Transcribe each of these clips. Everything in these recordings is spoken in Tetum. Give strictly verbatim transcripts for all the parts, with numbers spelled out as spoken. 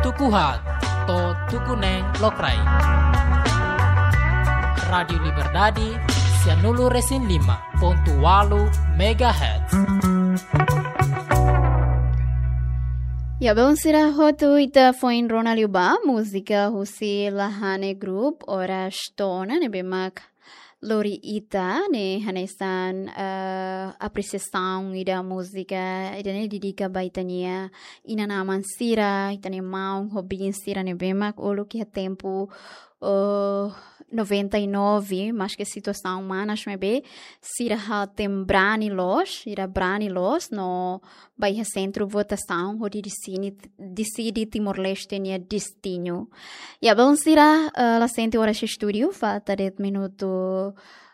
Tuku haat to'o tuku neen lokraik. Rádiu Liberdade, sianulu resin lima pontu ualu megahertz. Ya, belun sira hotu, ita foin rona liu ba múzika husi Lahane Group, Oras To'o Ona, ne'ebé mak lori ita ne'e hanesan, eh, apresiasaun ida múzika ida-ne'e dedika ba ita-nia inan-aman sira, ita-nia maun ho biin sira ne'ebé mak uluk iha tempu, eh, noventa e nove, maske situasaun manas maibé sira hatene brani loos, sira brani loos no ba iha sentru votasaun hodi deside, deside Timor-Leste nia destinu. Ya, belun sira, eh, la sente oras estúdiu, falta de'it minutu,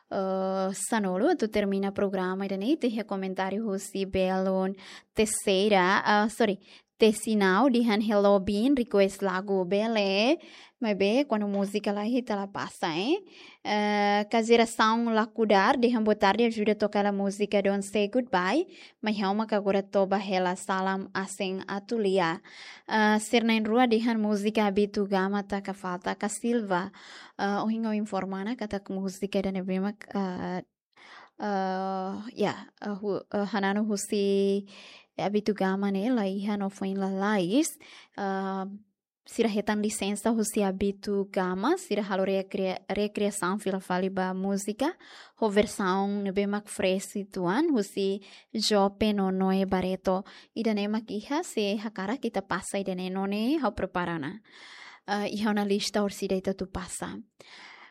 eh, sanulu atu termina programa ida-ne'e, iha komentáriu husi belun Teixeira, ah, sorry, Tesinau dehan hello biin, request lagu bele, maibé kuandu múzika la iha ita la pasa, eh. Eh, Kazera Sound Lakudar dehan boa tarde, ajuda toka hela múzika Don't Say Goodbye, mai ha'u mak agora toba hela salam asen atu lia. Eh, Sirnain Rua dehan múzika Abitu Gama taka falta ka Silva. Eh, ohin ha'u informa ona katak múzika ida-ne'ebé mak, eh, eh, ya, eh, hu-, eh, hananu husi Abitu Gama ne'e la iha no foin lalais. Eh, sira hetan lisensa husi Abitu Gama, sira halo rekria-, rekriasaun fila fali ba múzika, ho versaun ne'ebé mak fresh uitoan, husi Jope no Noe Barreto. Ida-ne'e mak iha, se hakarak ita pasa ida-ne'e no ne'e, ha'u prepara ona. Eh, iha ona lista orsida ita atu pasa.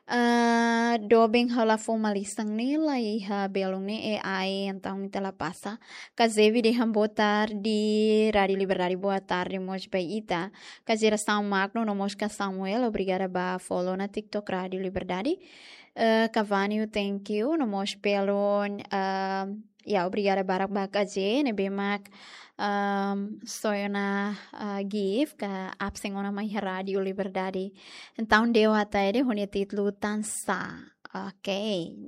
Eh, doben ha'u la fó malisan ne'e la iha belun ne'e, eh, ai, entaun ita la pasa. Kazevi dehan boa tarde, Rádiu Liberdade, boa tarde mós ba ita. Ka Jerasaun Magno, no mós ka Samuel, obrigada ba follow ona TikTok Rádiu Liberdade. Eh, Kavanio, thank you, no mós belun, eh, ya, obrigada barak ba K J, ne'ebé mak, ehm, soi ona, eh, gift ka absen ona mai iha Rádiu Liberdade. Entaun, De'it Ataide, ho nia títulu Tansá. Ok,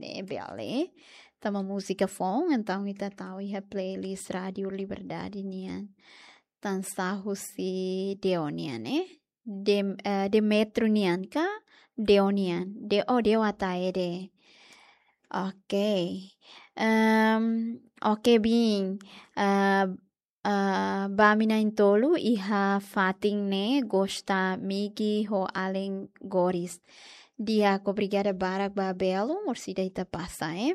ne'e bele. Tanba múzika foun, entaun ita tau iha playlist Rádiu Liberdade nian. Tansá husi De'it nian, eh? Dem-, eh, Demetrio nian ka? De'it nian. De-, oh, De'it Ataide. Ok. Ehm, ok, biin. Eh, eh, ba ami na'in-tolu iha fatin ne'e gosta Migi ho alin Goris. Di'ak, obrigada barak ba belun, orsida ita pasa, eh.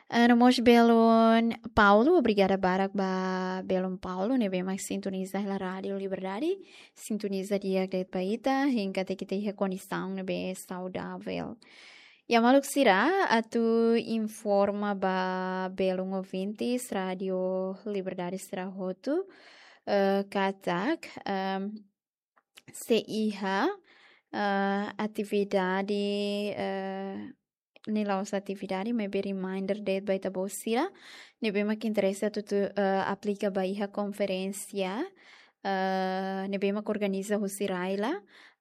Eh, no mós belun Paulo, obrigada barak ba belun Paulo, ne'ebé mak sintoniza hela Rádiu Liberdade, sintoniza di'ak de'it ba ita, hein katak ita iha kondisaun ne'ebé saudavel. Ya, maluk sira, atu informa ba belun ouvintes Rádiu Liberdade sira hotu, eh, katak, ehm, se iha, eh, atividade, eh, ne'e la'ós atividade, maibé reminder de'it ba ita-boot sira ne'ebé mak interese atu, atu, eh, aplika ba iha konferénsia, eh, ne'ebé mak organiza husi RAELA,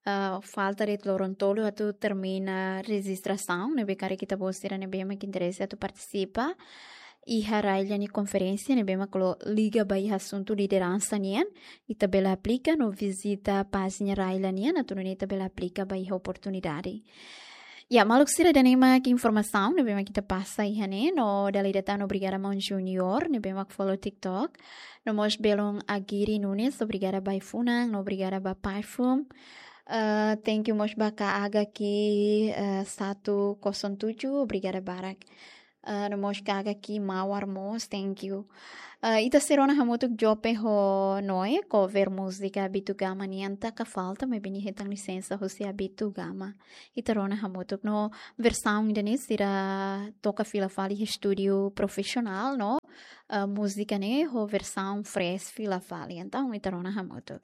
eh, falta de'it loron tolu atu termina rejistrasaun, ne'ebé karik ita-boot sira ne'ebé mak interese atu partisipa iha RAELA nia konferénsia ne'ebé mak lo-, liga ba iha asuntu lideransa nian, ita bele aplika no vizita pájina RAELA nian, atu nune'e ita bele aplika ba iha oportunidade. Ya, maluk sira, ida-ne'e mak informasaun ne'ebé mak ita pasa iha ne'e, no dala ida tan obrigada maun Junior, ne'ebé mak follow TikTok. No mós belun Agiri Nunes, obrigada ba ai-funan, no obrigada ba perfume. Eh, thank you mós ba K H K, eh, satu kosong tujuh, obrigada barak. Eh, no mós K H K Mawar mós, thank you. Eh, ita sei rona hamutuk Jope ho Noe, cover múzika Abitu Gama nian, Taka Falta, maibé nia hetan lisensa husi Abitu Gama. Ita rona hamutuk no versaun ida-ne'e sira toka fila fali estúdiu profisionál no, eh, múzika ne'e ho versaun fresh fila fali. Entaun, ita rona hamutuk.